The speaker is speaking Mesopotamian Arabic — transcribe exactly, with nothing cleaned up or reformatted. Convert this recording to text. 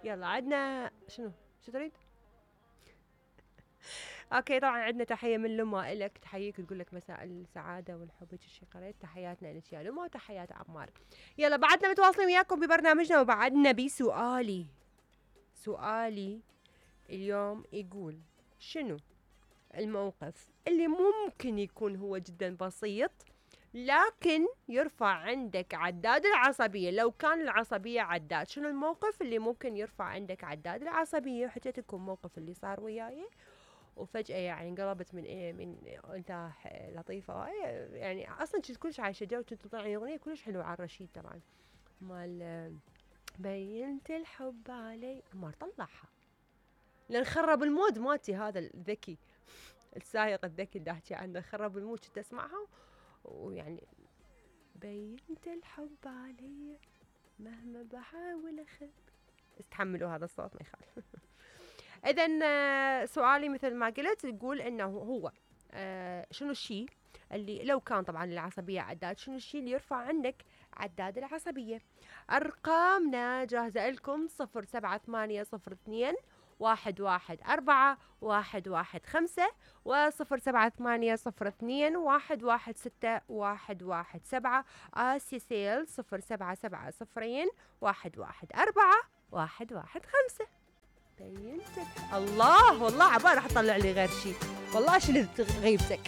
يلا عندنا شنو شو تريد؟ اوكي طبعا عندنا تحيه من لما الك، تحييك تقول لك مساء السعاده والحب هيك شي قريت. تحياتنا لك يا لما وتحيات عمار. يلا بعدنا متواصلين وياكم ببرنامجنا، وبعدنا بسؤالي. سؤالي اليوم يقول شنو الموقف اللي ممكن يكون هو جدا بسيط لكن يرفع عندك عداد العصبية؟ لو كان العصبية عداد، شنو الموقف اللي ممكن يرفع عندك عداد العصبية؟ وحكيت لكم موقف اللي صار وياي وفجأة يعني انقلبت من إيه من انت لطيفة يعني. اصلا كنت كلش عايشة جو، كنت تطلعني اغنية كلش حلوة على الرشيد طبعا مال بينت الحب علي، ما طلعها لان خرب المود مالتي هذا الذكي السايق الذكي اللي احكي عنه، خرب المود. كنت اسمعها ويعني بينت الحب علي مهما بحاول اخبي. استحملوا هذا الصوت ما يخالف. اذا سؤالي مثل ما قلت يقول انه هو آه شنو الشيء اللي لو كان طبعا العصبية عداد، شنو الشيء اللي يرفع عندك عداد العصبية؟ ارقامنا جاهزة لكم صفر سبعة ثمانية صفر اثنين واحد واحد أربعة واحد واحد خمسة وصفر سبعة ثمانية صفر اثنين واحد واحد ستة واحد واحد سبعة. آسيا سيل صفر سبعة سبعة صفرين واحد واحد أربعة واحد واحد خمسة. بينت الله والله عبالي راح تطلع لي غير شيء، والله شلت غيبتك.